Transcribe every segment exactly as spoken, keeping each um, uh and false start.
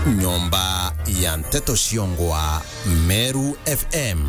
Nyomba ya nteto ciongwa Meru F M.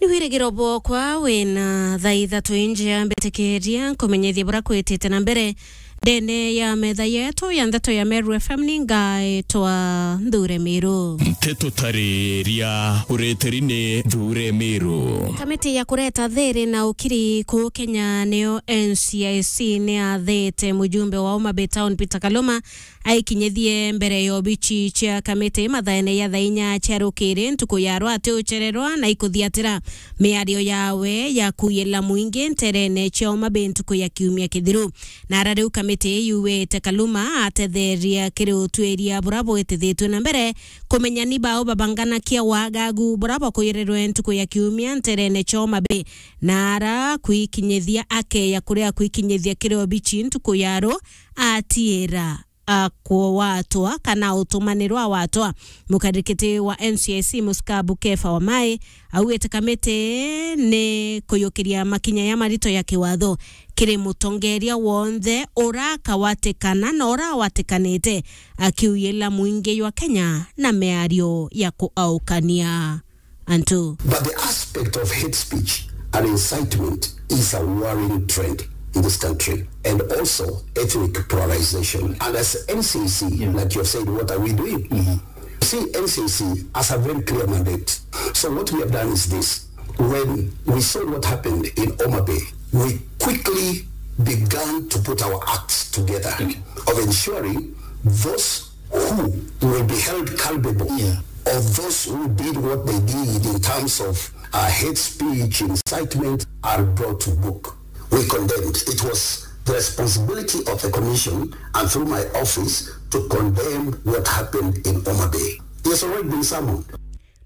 Ni wirigiro bwokwa wina thaa ithatu injia mbitikiria nkumenyithie bura kwitite na mbere ndene ya metha yetu ya nteto ya Meru F M. Ni ngaitwa Nthure Miru. Nteto tariria ureteri ni Nthure Miru. Kamiti ya kureta thiri na ukiri kuu Kenya niyo N C I C ni yathite mujumbe wa Homa Bay Town Peter Kaluma aikinyithie mbere ya obici cia kamiti mathaene ya thaa inya cia rukiri ntuku ya rwa ati ucererwa na ikuthiatira miario yawe ya kuiyila mwingi nterene cia Homa Bay ntuku ya kiumia kithiru. Na ara riu kamiti yuwite Kaluma atetheria kiri utuiria bura bwitithitue na mbere kumenya ni bau babanganakia wagagu bura bwakuirirwe ntuku ya kiumia nterene cia Homa Bay. Na ara kwikinyithia akeya kuria kwikinyithia kiri obici ntuku ya ru atiira a kuwatwa kana utumanirwa watwa. Mukarikiti wa N C I C Musikabu Kefa Wamai augite kamiti ni kuyukiria makinya ya marito ya kiwatho kiri mutongeria wonthe urakawatikana na urawatikanite akiuyila mwingi jwa Kenya na miario ya kuaukania antu. But the aspect of hate speech and incitement is a worrying trend in this country, and also ethnic polarization. And as N C I C, yeah, like you have said, what are we doing? Mm-hmm. See, N C I C has a very clear mandate. So what we have done is this. When we saw what happened in Homa Bay, we quickly began to put our acts together, okay, of ensuring those who will be held culpable, yeah, of those who did what they did in terms of, uh, hate speech, incitement, are brought to book. We condemned. It was the responsibility of the commission and through my office to condemn what happened in Homa Bay. He has already been summoned.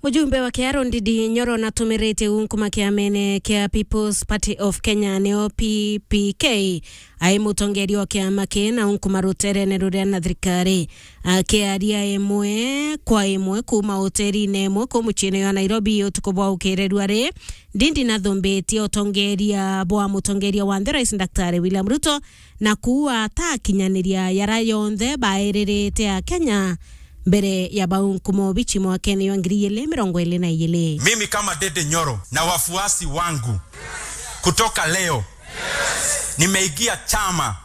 Mujumbe wa Kiaro Ndindi Nyoro natumiritie unkuma kiamene kia People's Party of Kenya, nio P P K, ai mutongeria wa kiama kii na unkuma ruterene ruria na thirikari. Akiaria imwe kwa imwe kuuma hoterine imwe kuu muciine jwa Nairobi utuku bwa ukirerua ri, Ndindi nathumbitie utongeria bwa mutongeria wa nthi Rais Daktari William Ruto na kuua atakinyaniria yara yonthe baeririte Akenya mbere ya bau nkumo bichi mwakene jwa ngiri igiri mirongo iri na igiri. Mimi kama Ndindi Nyoro na wafuasi wangu, kutoka leo nimeingia chama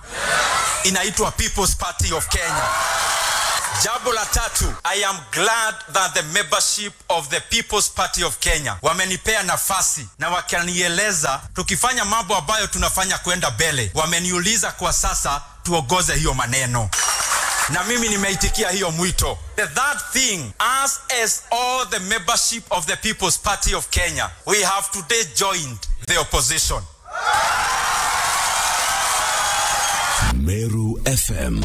inaitwa People's Party of Kenya. Jambo la tatu, I am glad that the membership of the People's Party of Kenya wamenipea nafasi na wakanieleza tukifanya mambo ambayo tunafanya kwenda mbele. Wameniuliza kwa sasa tuongoze hiyo maneno. Na mimi nimeitikia hiyo mwito. The third thing, us as all the membership of the People's Party of Kenya, we have today joined the opposition. Meru F M.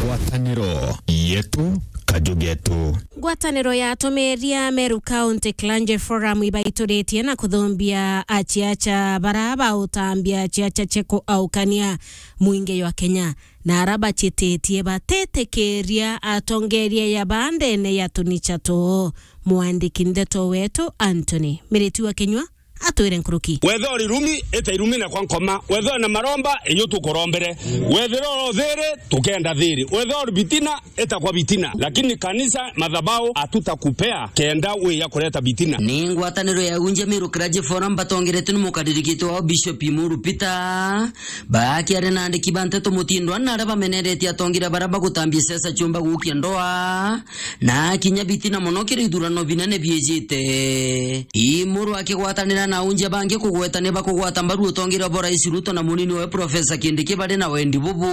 Ngwataniro yetu, kaju getu. Ngwataniro ya atumiria Meru County Clergy Forum ibaituritie na kuthumbia aciaca bara bautambia aciaca cia kuaukania mwingi jwa Kenya, na ara bacititie batitikiria atongeria ya bandene ya tunicha two. Mwandiki ndeto wetu Anthony Miriti wa Kinyua atwire nkuruki. Wethira uri irumi, ita irumi na kwa nkoma. Wethira na maromba, iyo tukurombere. Wethira uri thiri, tukenda thiri. Wethira uri bitina, ita kwa bitina. Lakini kanisa, madhabahu, hatutakupea kenda wiya kureta bitina. Ni ngwataniro ya Unjia Meru Clergy Forum batongeretwe ni mukaririkite wao Bishop Imuru Peter. Bakiaria na andiki ba nteto mutindwa na aria bameneretie atongeria baria bagutambia siasa ciumba gukia ndoa na kinya bitina mono kiri ithurano binene biijite. Imuru akigwatanira na aunjia bangi kugweta ni bakugwata mbaru utongeria bwa Rais Ruto na munini wawe Professor Kindiki bari na wendi bubu.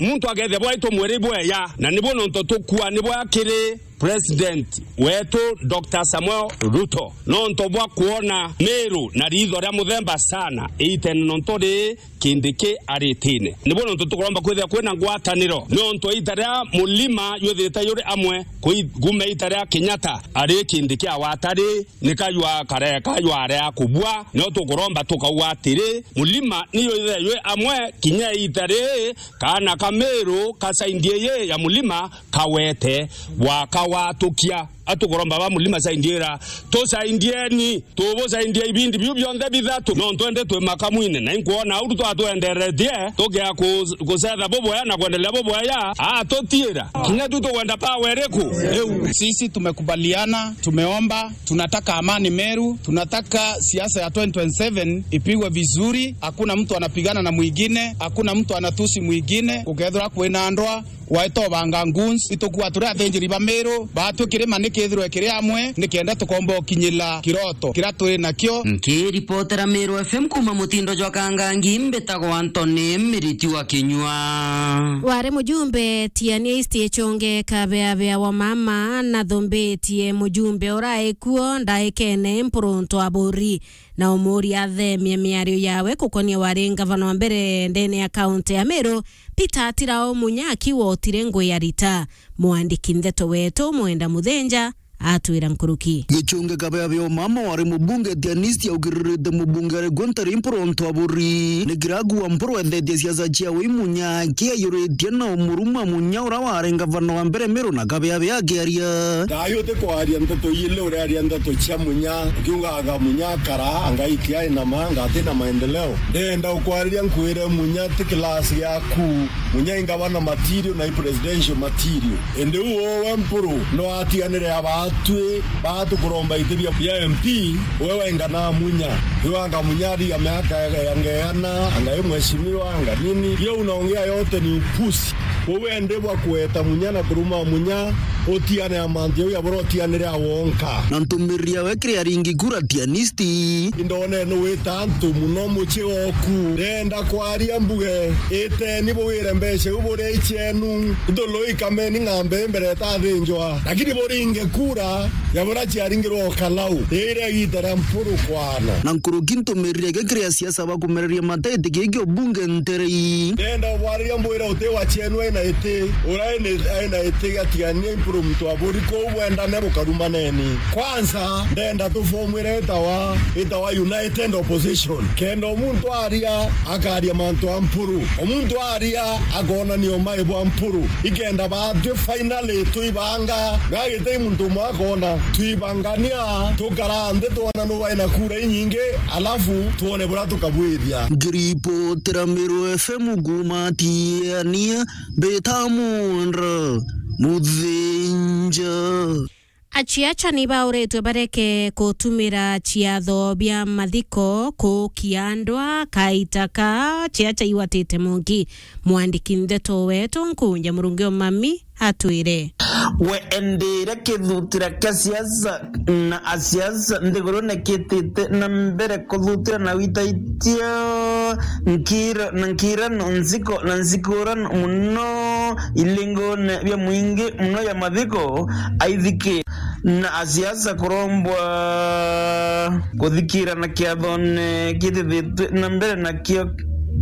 Muntu akethia bwaitwa mwiri bweya, na nibo nontu tukua nibo akiri President wetu Doctor Samuel Ruto, nontu bwa kwona Meru na riitho ria muthemba sana, iitene nontu ri Kindiki aritine. Nibo nontu tukuromba kwithira kwina ngwataniro, nontu iita ria Mulima jwithirite juri amwe, kui-, kuuma iita ria Kenyatta ari Kindiki awatari, ni kajwa kare, kajwa area kubua, no tukuromba tukauga atiri, Mulima niyo ithire jwi amwe, kinya iita ri, kaana ka Meru ka saindi iyi ya Mulima kawete gwaka Watukia, atukuromba ba Mulima saindiera, tusaindieni, tubusaindie ibindi biu bionthe bithatu, no twende twi makamwine, na inkwona uru twatwenderetie, tukea ku-, kucetha bubwea na kwendelea bubwea, atutiira. Kinya tu tukwenda power iriku? Iu. Sisi tumekubaliana, tumeomba, tunataka amani Meru, tunataka siasa ya twenty twenty-seven ipigwe vizuri, hakuna mtu anapigana na mwingine, hakuna mtu anatusi mwingine, ukethirwa kwina ndwa, waitobanga goons, itukua turi athinjiri ba Meru, baatwi kirima nikithirwe kiri amwe, nikenda tukomba ukinyila kiroto kiria turi nakio. Nkiripotera Meru F M kuma mutindo jwa Kangangi, mbitagwa Anthony Miriti wa Kinyua. Wari mujumbe Tiania East Echonge Kabeabea wa mama nathumbitie mujumbe urai kuo ndaikene Mpuruntu Aburi na umuria athemie miario yawe kukonia wari ngavana wa mbere ndene ya kaunti ya Meru, Peter Atirao Munya akiwotire ngui ya Rita. Mwandiki ndeto wetu Mwenda Muthenja atwira nkuruki. Gichunge Kabeabea wa mama wari mubunge Tianisti augiririte mubunge ari Gunther Mpuruntu Aburi. Ni kiragu wa Mpuru ethetie siasa ciawe i Munya akiayuritie na umuruma Munya ura wari ngavana wa mbere Meru na Kabeabea akiaria. Thayu utikwaria ndeto ili uraria ndeto cia Munya, ukiugaga Munya akara, anga itiai na manga, ati na maendeleo. Ndenda ukwariria nkwire Munya ti class yaku. Munya i ngavana material na i presidential material. Indi u uwe Mpuru no atiganire abatwi batukuromba iti bia, bia M P, uwe waingana Munya. Iwanga Munya ari ya miaka ya, ya ngeana, anga i mheshimiwa, anga nini. Iyo unaongea yote ni upuzi. Uwe ndi bwa kueta Munya na kuruma Munya, utiane ya mantu yau ya bora utianire awonka. Na ntumiriria we kiri aringi kura Tianisti. Indone ni wita antu muno mucii oku. Ndenda kwaria mbuge, iteni bugire mbeca iu buria icenu. Ithulu ikameni ng'ambe mbere itathinjwa. Lakini buringe kura ya buria ciaringirwe o Kalau. Iria igita ria Mpuru kwana. Na nkuruki ntumiriria gikiri asiasa bakumereria mateti giki ubunge nterei. Ndenda ubwariria mbwire uti wa cienu aina iti. Uria aina, aina iti gatigania Mpuru muntu aburi kuu bwendane bukarumaneni. Kwanza, ndenda tufomwire itawa, itawa United Opposition. Kenda omuntu aria, akaria mantu a Mpuru. Omuntu aria, akonania umai bwa Mpuru. Ikenda batwi finally twibanga. Gagitei muntu umwe akona. Twibangania, tukara nthi twona nu waina kura inyingi, alafu twone buria tukabwithia. Ngiripotera Meru F M kuma Tiania, mbita Mundra Muthinja. Aciaca ni bauritwe bareke kutumira ciatho bia mathiko kuukia ndwa kaita ka ciaca iwatite munki. Mwandiki ndeto wetu Nkunja Murungi o Mami atwire. We endire kithutira kia siasa na asiasa nthigurune kitite na mbere kuthutira na witaitia nkira na nkirano nziko na nzikurano muno ilingone bia mwingi muno ya mathiko aithiki na asiasa kurombwa kuthikira na kiathone kitithitwe na mbere na kio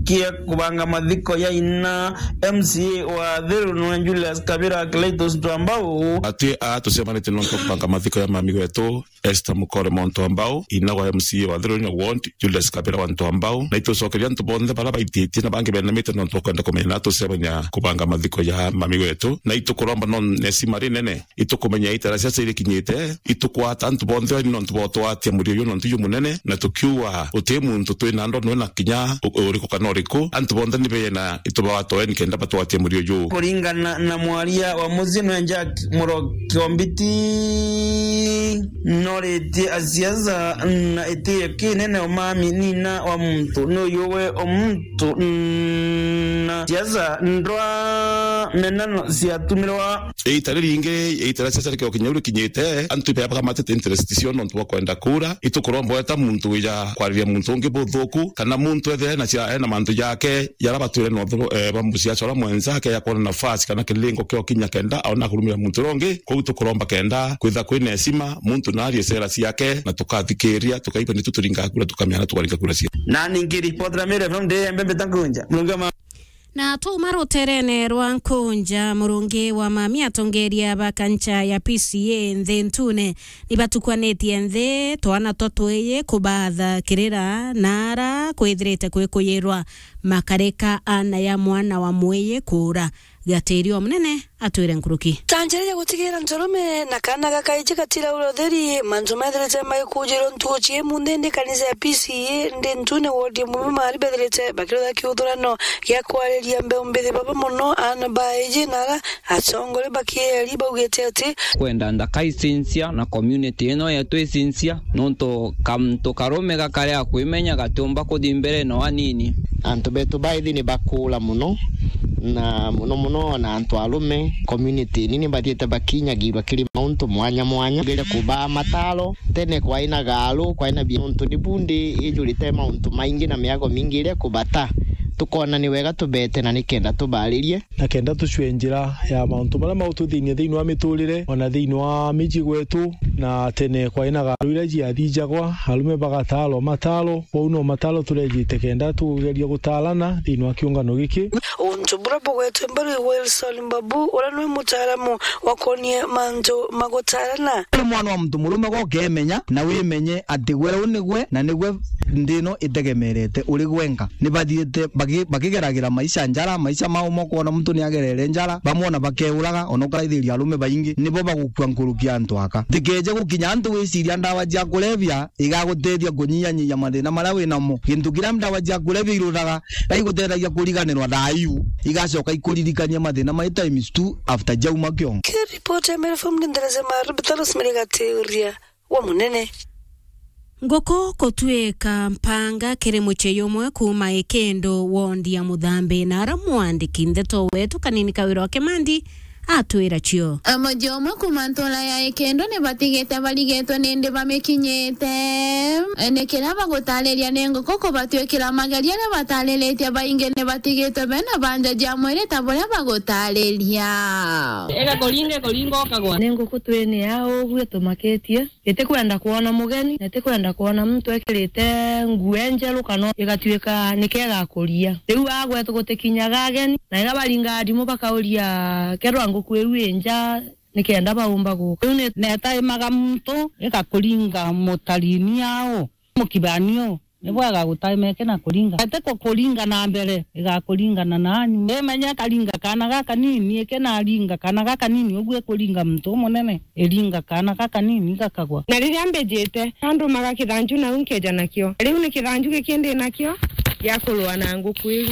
kia kubanga mathiko ya ina M C A wa Thiru nwe Julius Kabira Cletus Twambau. Atwi aa tucemanitie nontu bwa kubanga mathiko ya mami wetu Esther Mukore Muntu Ambau, ina wa M C A wa Thiru na ward Julius Kabira wa Ntu Ambau, na itucokeria antu bonthe bara baititie na bangi benamite nontu bwa kwenda kumenya na tucemania kubanga mathiko ya mami wetu, na itukuromba no nesima rinene. Itukumenya itara cia cia irikinyite, itukwata antu bonthe ni nontu bwa utwatia murio uyu nontu jumunene, na tukiuga uti muntu twina ndo nwe na kinya u-, uriku kana uriku, antu bonthe ni bena itubawatoe nikenda batwatie murio uyu. Kuringana na mwaria wa mucii nwe Jack Muroki Ombiti, noritie asiasa na itio kinene umami nina wa muntu ni uyu we umuntu na siasa ndwa menano ciatumirwa. Iita riringi, iita ria siasa rikio kinya rikinyite, antu ibe bakamatite interest cio nontu bwa kwenda kura. Itukuromba weta muntu wija kwariria muntu ungi buthuku, kana muntu ethire ena cia, ena mantu jake jara batwire na uthuru, eh, ba musiasa uria mwenzake ya kuona nafasi kana kilingo kio kinya kenda aona kurumira muntu uria ungi. Kwou tukuromba kenda kwitha kwina heshima, muntu na arie sera ciake, na tukathikiria, tukaigua nitu turinga kura, tukamenya na tukaringa kura cia. Na ningi ripoti ra Meru F M ndi Embe Mbita Nkunja. Murungi wa ma- Na twauma ruterene rwa Nkunja, Murungi wa Mami, atongeria ba kancha ya P C A nthi ntune ni batukwanitie nthi twana twa twiji kubatha kirira na ara kwithirite kwikuyirwa makarika ana ya mwana wa mwiji kuura. Gatiri o munene atwire nkuruki. Ta njira ya gutigira nturume na kaana gakaiji gatiraura utheri, mantu methirite magikujirwa ntuku cia imunthi, indi kanisa ya P C E ndi ntune ward ya Mumbi Mari bethirite bakirutha kiuthurano gia kwariria mbeu mbithi baba mono aana ba aiji na ara atongore bakieri baugite ati, kwenda nthaka icinsia na community ino yetu icinsia, nontu kantu karume gakaria kwimenya gatiumba kuthi mbere no anini. Antu betu baithi ni bakuura mono, na mono mono ona antu arume community ini ni bathiite bakinyagirwa kiri mauntu mwanya mwanya. Ngire kubaa mataro, tene kwaina garu, kwaina bi-, nontu ni bundi ijurite mauntu maingi na miago mingi iria kubata. Tukona ni wega tubete na nikenda tubaririe. Na kenda tucue njira ya mauntu maria maututhinia thiini wa miturire, ona thiini wa miji gwetu, na tene kwaina garu iria ciathijagwa, arume bagataarwa mataaro, kwou no mataaro turejite kenda tugeria gutaarana thiini wa kiungano giki. Untu buria bugwetwe mbaru i Wilson Mbabu, uria nwi mutaaramu wa kwonie mantu ma gutaarana. Uri mwana wa muntu murume gwa ukemenya, na wimenye ati gwe uu nigwe, na nigwe nthi ino itegemerete uri gwenka. Ni bathiite baki-, bakigeragira maisha njara, maisha mao mokona muntu ni agerere njara, bamwe ona bakeuraga, ona ukaraithiria arume baingi, nibo bagukua nkuruki antu aka. Ntikeje gukinya antu wiciria ndawa cia kulevya igagutethia kunyihanyihia mathina maria wi namo. Gintu kiria ndawa cia kulevya iruthaga, gaigutethagia kuriganirwa thaa iu, igacoka ikuririkania mathina mai times two after jauma kiongo. Kiripoti ya Meru F M ni ndereze Maru, Bitharos Merigateria wa munene. Nguku kutwika mpanga kiri mucii umwe kuuma Ikindu, wondi ya Muthambi, na ara mwandiki ndeto wetu Kanini Kawira wa Kimandi atwira cio. Mucii umwe kuuma ntura ya Ikindu ni batigite barigetwe nindi bamikinyite. Ni kiria bagutariria ni nguku kubatwikira mageria, ni batariritie baingi ni batigitwe bena banja ja mwiri ta buria bagutariria. Ega kuringa, kuringa ukagwa. Ni nguku twini ya uguo tumakitie. Itikwenda kwona mugeni, na itikwenda kwona muntu ekirite nguo njeru, kana igatuika nikega kuria. Riu agwetu gutikinyaga ageni, na iria baringaga ndimu bakauria, "Kerwa nguku iu i nja, nikenda baumba guka." Riu ni-, netaimaga muntu, igakuringa mutarini au, mukibani u. Nibwo agagutaima eke na kuringa. Ete ku-, kuringa na mbere, igakuringana na anyu. Imenye karinga kana gaka nini, eke naringa kana gaka nini, uguo ikuringa muntu umunene, iringa kana gaka nini gakagwa. Na riria mbijite, andumaga kithanju nau nkeja nakio. Riu ni kithanju giki ndi nakio gia kurua na nguku iu.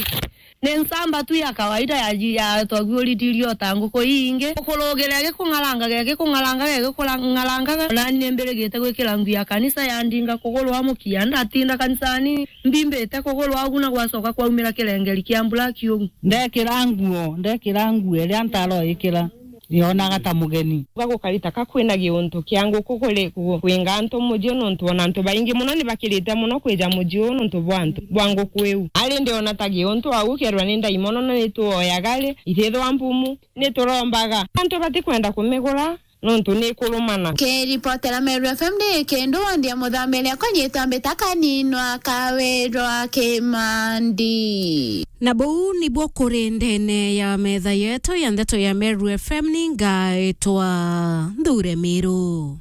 Ni nsamba tu ya kawaida ya ji-, ya twaguuritirio ta nguku ii ingi. Gukurugire gikung'arangaga, gikung'arangaga, gikung'arangaga. Nani ni mbirigite gwikira nguo ya kanisa ya ndinga kugurwa mukia. Ndatinda kanisani, mbimbite kugurwa ugu na gwacoka kwaumira kirengeri kia mbura kiugu. Ndekira nguo, ndekira nguo iria ntaro ikira. Yonaga ta mugeni. Uga gukari ta ka kwina giuntu kia nguku kuri ku-, kwinga antu muji u, nontu ona antu baingi mono ni bakirite mono kwija muji u nontu bwa antu, bwa nguku iu. Ari ndiona ta giuntu au kerwa ni ndaimono na ni tuoyaga ri, ithithwa mbumu, ni turombaga. Antu batikwenda kumigura nontu ni ikurumana. Kiripotera Meru F M ndi Ikindu, wondi ya Muthambi, akwa nyitwa mbita Kaninwa Kawirwa Kimandi. Na buu nibwo kuri ndene ya metha yetu ya ndeto ya Meru F M, ni ngaitwa Nthure Miru.